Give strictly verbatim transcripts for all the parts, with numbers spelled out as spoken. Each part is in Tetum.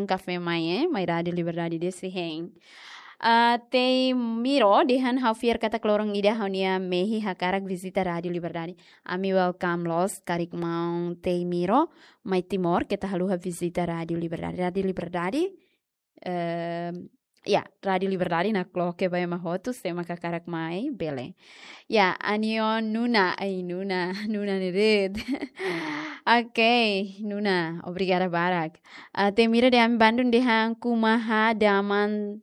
kafé mai, eh, mai Rádio Liberdade desi hein. Ah, Tei Miro dehan ha'u fiar katak loron ida ha'u-nia mehi hakarak vizita Rádio Liberdade. Ami welcome loos, karik maun Tei Miro mai Timor, keta haluha vizita Rádio Liberdade. Rádio Liberdade, ehm, ya, Rádio Liberdade nakloke ba ema hotu, se ema hakarak mai, bele. Ya, Anion Nuna, ai Nuna, Nuna ne'e de'it. Ok, Nuna, obrigada barak. Ah, Tei Miro dehan ami bandun dehan kuma ha'u daman,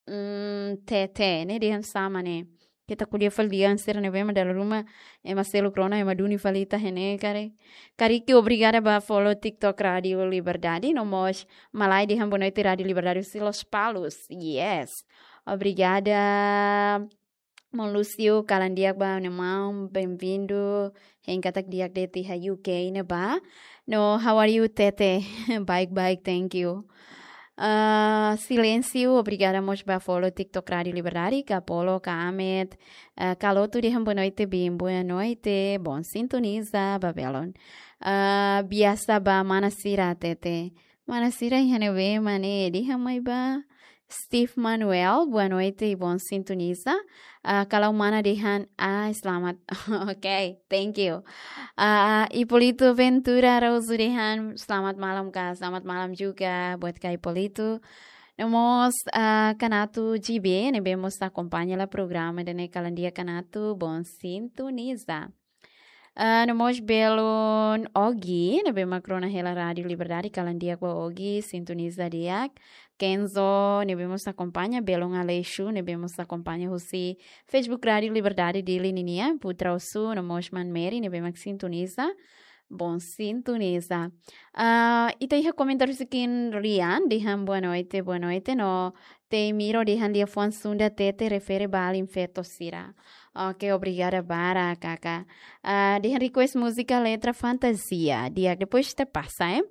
mm, Tete, ne'e dehan sama ne'e. Keta ko'alia fali dehan sira ne'ebé mak dala ruma ema seluk rona, ema duni fali ita iha ne'e karik. Karik obrigada ba follow TikTok Rádio Liberdade, no mós malae dehan boa noite Rádio Liberdade husi Lospalos. Yes. Obrigada. Maun Lúcio, kalan di'ak ba, ne'e maun, bem-vindo. Hein katak di'ak de'it iha U K ne'ebá. No, how are you, Tete? Baik-baik, thank you. Ah, Silêncio, obrigada mós ba follow TikTok Rádio Liberdade, ka Polo, ka Ahmed, ah, ka Lotu dehan boa noite, bem, boa noite, bom sintoniza, ba belun. Ah, biasa ba mana sira, Tete. Mana sira iha ne'ebé mak ne'e, dehan mai ba. Steve Manuel, boa noite e bom sintoniza. Ah, kalau mana dehan, ah, selamat. Ok, thank you. Ah, Hipólito Ventura Araújo dehan, selamat malam, Kak. Selamat malam juga buat Kak Hipólito. No mós, ah, Kanato G B, ne'ebé mós akompaña hela programa ida-ne'e, kalan di'ak Kanato, bom sintoniza. Ah, no mós belun Ogi, ne'ebé mak rona hela Rádio Liberdade, kalan di'ak ba Ogi, sintoniza di'ak. Kenzo, ne'ebé mós akompaña, belun Aleixo, ne'ebé mós akompaña husi Facebook Rádio Liberdade Dili ninia, Putra Osu, no mós Maun Mary, ne'ebé mak sintoniza. Bom sintoniza. Ah, ita iha komentáriu husi Kim Rian, dehan boa noite, boa noite, no Tei Miro dehan liafuan Sunda Tete refere ba alin feto sira. Ok, obrigada barak, Kaka. Ah, dehan request múzika letra Fantasia. Di'ak, depois ita pasa, eh.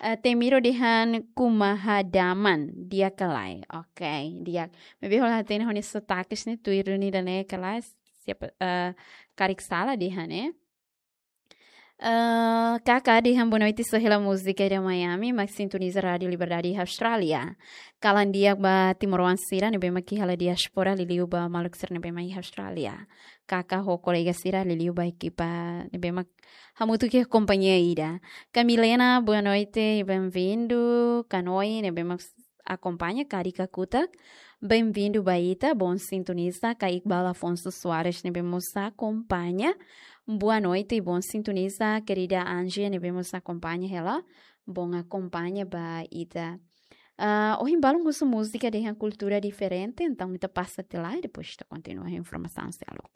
Ah, Tei Miro dehan kuma ha'u daman, di'ak ka lae. Ok, di'ak. Maibé ha'u la hatene ha'u-nia sotakes ne'e tuir duni ida-ne'e ka lae. Siapa, ah, karik sala dehan, eh. Eh, Kaka dehan boa noite, só hela múzika ida Miami, mak sintoniza Rádio Liberdade iha Austrália. Kalan di'ak ba timoroan sira ne'ebé mak iha hela diáspora, liuliu ba maluk sira ne'ebé mak iha Austrália. Kaka ho kolega sira, liuliu ba ekipa ne'ebé mak hamutuk iha kompañia ida. Ka Milena, boa noite e bem-vindo. Ka Noi, ne'ebé mak akompaña, karik kakutak. Bem-vindo ba ita, bom sintoniza. Ka Iqbal Afonso Soares, ne'ebé mós akompaña. Boa noite e bom sintoniza, querida Angie, ne'ebé mós akompaña hela. Bom akompaña ba ita. Ah, ohin balun husu múzika dehan kultura diferente, entaun ita pasa tiha lai, depois ita kontinua informasaun seluk.